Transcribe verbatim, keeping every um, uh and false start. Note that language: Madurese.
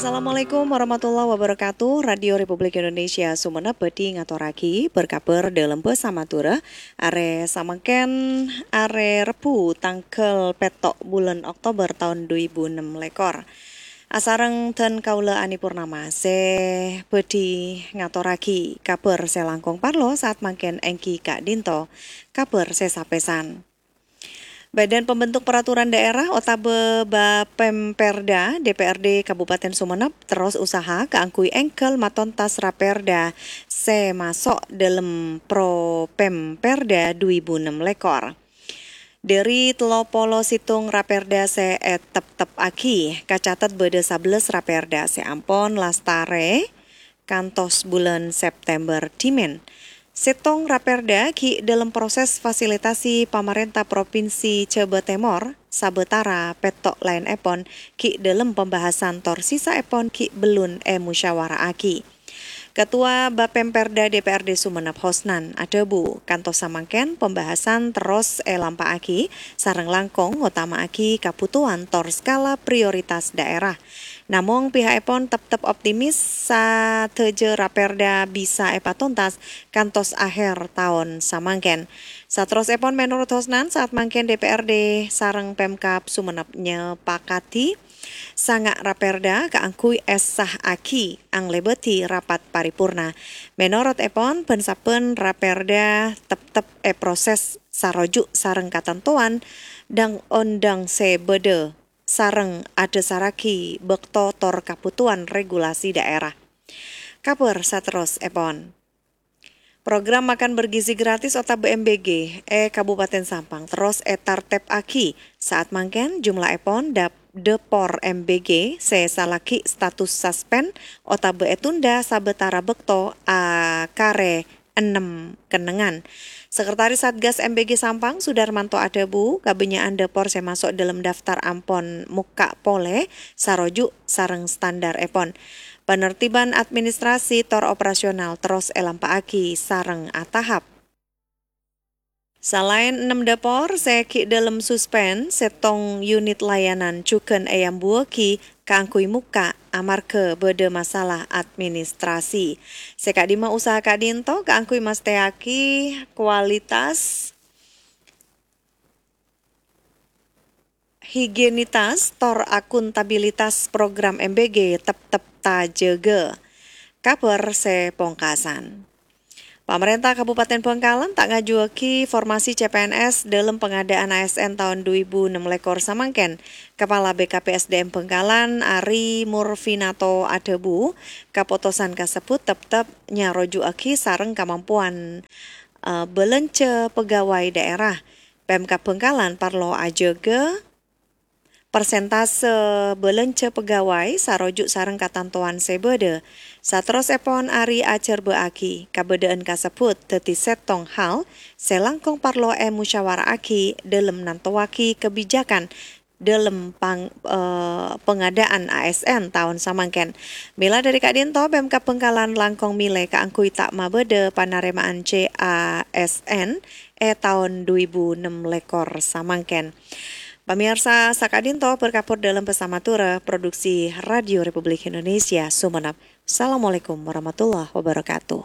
Assalamualaikum warahmatullahi wabarakatuh. Radio Republik Indonesia Sumenep bhâdhi ngatorraghi berkabar dâlem bhâsa Madhurâ. Arè samangkèn, arè Rebbhu, tangghâl pètto' bulân Oktober taon du èbu ennem lèkor. Asareng dân kaulâ Ani Purnama sè bhâdhi ngatorraghi kabhâr sè langkong parlo saat mangkèn èngghi ka'dinto kabhâr sè sapèsan. Badan Pembentuk Peraturan Daerah otabâ Bapemperda D P R D Kabupaten Sumenep terros usaha kaangghuy èngghâl matontas Raperda sè maso' dâlem Propemperda du èbu ennem lèkor. Dâri tello polo sèttong Raperda sè ètepteppaghi, kacatet bâdâ sabellâs Raperda sè ampon lastarè kantos bulân September dhimèn. Sèttong Raperda ghi' dâlem proses fasilitasi pamarènta Propinsi Jhâbâ Tèmor, sabâtara pètto' laènèpon ghi' dâlem pembahasan tor sisaèpon ghi' bellun èmusyawara'aghi. Ketua Bapemperda D P R D Sumenep Hosnan adhâbu, kantos samangkèn pembahasan terros èlampa'aghi sareng langkong ngotama'aghi kabhutowan tor skala prioritas daerah. Namong, piha'èpon teptep optimis sadhâjâ Raperda bisa èpatontas kantos aher taon samangkèn. Saterrossèpon, menorot Hosnan, saat mangkèn D P R D sareng Pemkab Sumenep nyepakadhi sanga' Raperda kaangghuy èssaaghi anglèbâdhi rapat paripurna. Menorotèpon, bân-sabbhân Raperda teptep èproses saroju' sareng katantowan dâng-ondâng sè bâdâ sareng adhâsarraghi bâkto tor kabhutowan regulasi daerah. Kabhâr saterrossèpon. Program makan bergizi gratis otabâ M B G è Kabupaten Sampang terros ètartèbaghi. Saat mangkèn jumlahèpon dâp-, dâpor M B G sè salaghi status suspend otabâ ètunda sabâtara bâkto akarè ennem kennengngan. Sekretaris Satgas M B G Sampang, Sudarmanto adhâbu, kabânnya'an dâpor sè maso' dâlem daftar ampon mokka' polè saroju' sareng standarèpon. Panertiban administrasi tor operasional terros èlampa'aghi sareng atahap. Salaèn ennem dâpor sè ghi' dâlem suspend, sèttong unit layanan jhughân èambuwâghi kaangghuy mokka' amarghâ bâdâ masalah administrasi. Sè ka'dimma usaha ka'dinto kaangghuy mastèyaghi kualitas, higienitas, tor akuntabilitas program M B G teptep tajâgâ. Kabhâr sè pongkasan. Pamarènta Kabupaten Bhângkalan ta' ngajuwâghi formasi C P N S dâlem pangadâ'ân A S N taon du èbu ennem lèkor samangkèn. Kapala B K P S D M Bhângkalan, Ari Murfinato adhâbu, kapotosan kasebbhut teptep nyaroju'aghi sareng kamampowan, eh, bâlânjhâ pegawai daerah. Pemkab Bhângkalan parlo ajâgâ persentase bâlânjhâ pegawai saroju' sareng katantowan sè bâdâ. Saterrossèpon, Ari ajhârbâ'âghi kabâdâ'ân kasebbhut dhâddhi sèttong hal sè langkong parlo èmusyawara'aghi dâlem nantowaghi kabijakan dâlem pang-, eh, pangadâ'ân A S N taon samangkèn. Mèla dâri ka'dinto, Pemkab Bhângkalan langkong mèlè kaangghuy ta' mabâdâ panarèma'an C A S N è taon du èbu ennem lèkor samangkèn. Pamèyarsa, saka'dinto berkabhâr dâlem bhâsa Madhurâ, produksi Radio Republik Indonesia, Sumenep. Assalamualaikum warahmatullahi wabarakatuh.